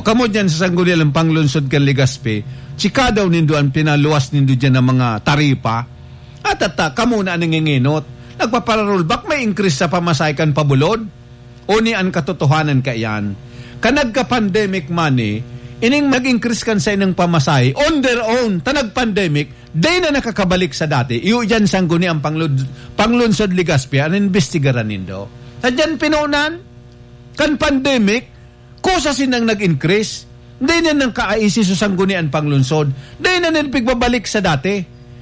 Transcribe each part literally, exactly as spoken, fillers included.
Kamo diyan sa Sangguniang Panglunsod kan Legazpi, chika daw nindo an pinaluwas nindo diyan na mga taripa. At, at, ah, kamo na an nanginginot. Nagpapara-rollback, may increase sa pamasahe kan pabulod. O ni an katotohanan kaiyan. Kan nagka-pandemic man, eh, ining nag-increase kan saindang pamasahe, on their own, ta nag-pandemic, dai na nakakabalik sa dati. Iyo diyan, Sangguniang Panglud-, Panglunsod Legazpi, an imbestigaran nindo. Sa diyan pinunan, kan pandemic, kusa sindang nag-increase. Dai na nang kaaisi sa Sangguniang Panglunsod. Dai na nila pigbabalik sa dati.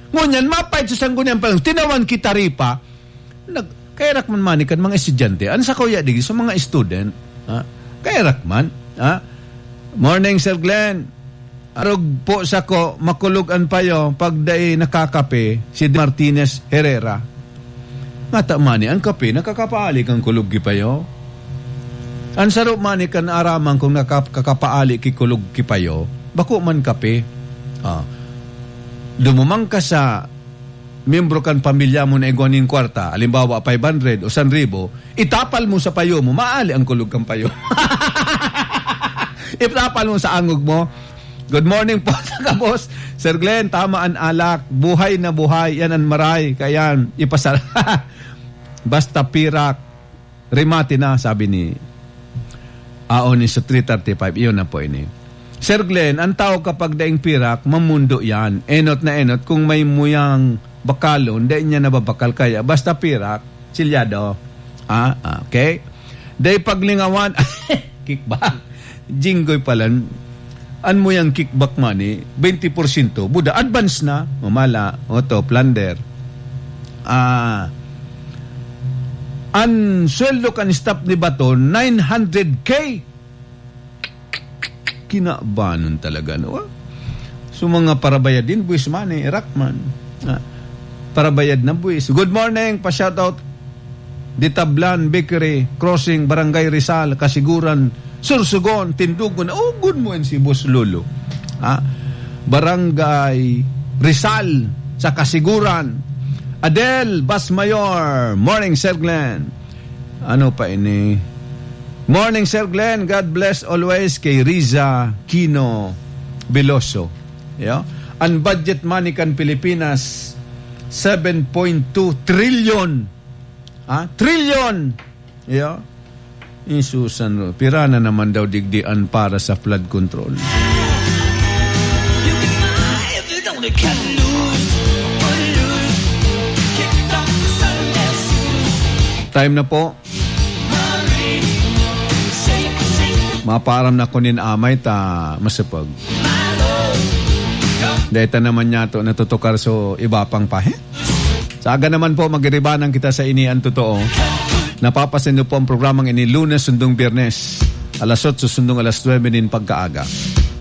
Ngunyan, mapait sa Sangguniang Panglunsod. Tinawan ki taripa. Nag-, kaya rakman man kan mga estudyante. An sa kuya, di, sa mga student. Ha? Kaya rakman. Ha? Morning, Sir Glenn. Arog po sako, makulog an payo, pag dai nakakape, si Martinez Herrera. Ngata man ni, an kape, nakakapaali kan kulog ki payo. An saro man ni kan araman kung nakakapaali ki kulog ki payo, bako man kape. Ah. Dumumang ka sa miyembro kan pamilya mo na igwa nin kwarta, halimbawa, five hundred o san ribo, itapal mo sa payo mo, maali ang kulog kan payo. Itapal mo sa angog mo. Good morning po, sa kabos. Sir Glenn, tama an alak. Buhay na buhay. Yan an maray. Kaya yan, ipasal-, basta pirak, remate na, sabi ni, aon ni sa three thirty-five. Iyon na po ini. Sir Glenn, ang tao kapag daing pirak, mamundo yan. Enot na enot. Kung may muyang bakalon, dai niya nababakal. Kaya basta pirak, silyado. Ah, okay. Dai paglingawan. Kickback. Jinggoy pala. An muyang kickback money, twenty porsyento. Buda, advance na. Mamala. Oto, plunder. Ah, an sweldo kan staff ni Baton, nine hundred K. Kinabanon talaga, no? So, mga parabayad din, buwis man eh, rakman. Ah, parabayad na buwis. Good morning, pa-shoutout. Ditablan, Bakery, Crossing, Barangay Rizal, Kasiguran, Sursugon, Tindugon. Oh, good morning si Boss Lolo. Ah, Barangay Rizal, sa Kasiguran. Adel Basmayor, morning, Sir Glenn. Ano pa ini? Morning, Sir Glenn. God bless always kay Riza Kino Veloso. Yeah? An budget money kan Pilipinas, seven point two trillion. Ha? Trillion! Yeah? Isusan, pira na naman daw digdi an para sa flood control. Time na po. Mapaaram na ko nin amay ta masipag. Deta naman niya to natutukar so iba pang pahe. Sa aga naman po, magiribanan kita sa ini ang totoo. Napapasin niyo po ang programang ini Lunes sundong Biyernes, alas otso sundong alas nuebe nin pagkaaga.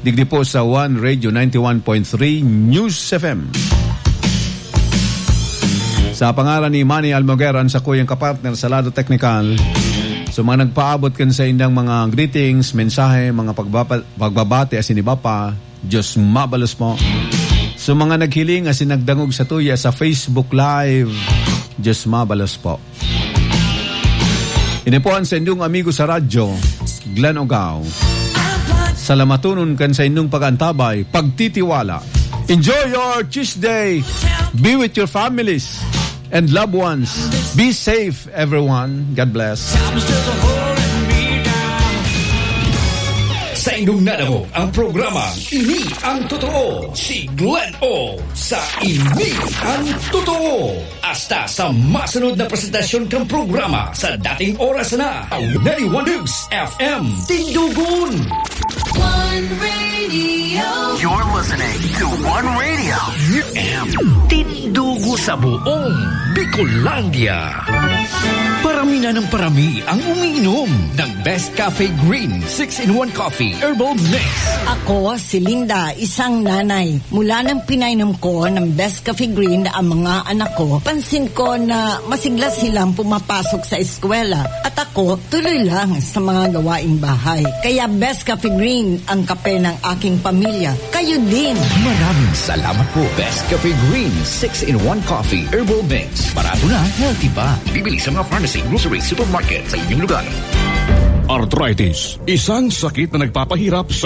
Digdi po sa One Radio ninety-one point three News F M. Sa pangaran ni Manny Almoguer, ang sakuyang kapartner sa lado teknikal, sa mga nagpaabot kan sa indang mga greetings, mensahe, mga pagbaba-, pagbabati, asin iba pa, Diyos mabalos po. Sa mga naghiling asin nagdangog sa tuya sa Facebook Live, Diyos mabalos po. Ini po ang sa inyong amigo sa radyo, Glenn Ogao. Salamatonon kan sa inyong pag-antabay, pagtitiwala. Enjoy your Tuesday. Be with your families and loved ones. Be safe, everyone. God bless. Sa inyong nadangog ang programa, Ini ang Totoo, si Glenn O sa Ini ang Totoo. Hasta sa masunod na presentasyon kan programa sa dating oras na, ninety-one News F M, Tindugon. One Radio. You're listening to One Radio. U M. Tindugo sa buong Bicolandia. Parami na ng parami ang umiinom ng Best Cafe Green six-in-one Coffee Herbal Mix. Ako si Linda, isang nanay. Mula nang pinainom ko ng Best Cafe Green ang mga anak ko, pansin ko na masigla silang pumapasok sa eskwela at ako tuloy lang sa mga gawaing bahay. Kaya Best Cafe Green ang kape ng aking pamilya. Kayo din! Maraming salamat po, Best Cafe Green six-in-one Coffee Herbal Mix. Barato na, healthy pa. Bibili sa mga pharmacy, grocery, supermarket sa inyong lugar. Arthritis, isang sakit na nagpapahirap sa